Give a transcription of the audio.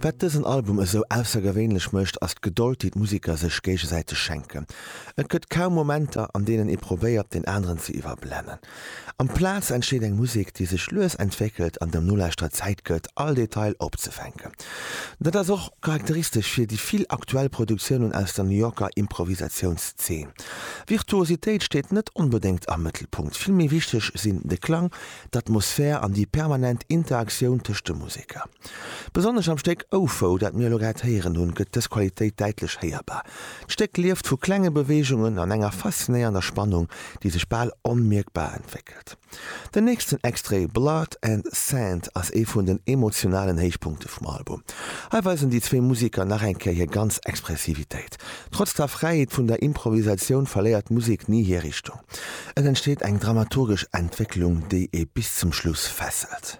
Wat dësen Album esou aussergewéinlech mécht, ass d'Gedold, déi d'Museker sech géigesäiteg schenken. Et gëtt kaum Momenter, an deenen ee probéiert, deen aneren ze iwwerblennen. Amplaz entsteet eng Musek, déi sech lues entwéckelt an dem Nolauschterer Zäit gëtt, all Detail opzefänken. Dat ass och charakteristesch fir déi vill aktuell Produktiounen aus der New Yorker Improvisatiounszeen. Virtuositéit steet net onbedéngt am Mëttelpunkt, vill méi wichteg sinn de Klang, d'Atmosphär an déi permanent Interaktioun tëscht de Museker. Besonnesch am Stéck Oufou, dat mir elo grad héieren hunn, gëtt dës Qualitéit däitlech héierbar. D'Stéck lieft vu klenge Beweegungen an enger faszinéiernder Spannung, déi sech bal onmierkbar entwéckelt. Den nächsten Extrait Blood and Sand ass ee vun den emotionalen Héichpunkte vum Album. Hei weisen déi zwee Museker nach eng Kéier hir ganz Expressivitéit. Trotz der Fräiheet vun der Improvisatioun verléiert d'Musek ni hir Richtung. Et entsteet eng dramaturgesch Entwécklung, déi ee bis zum Schluss fesselt.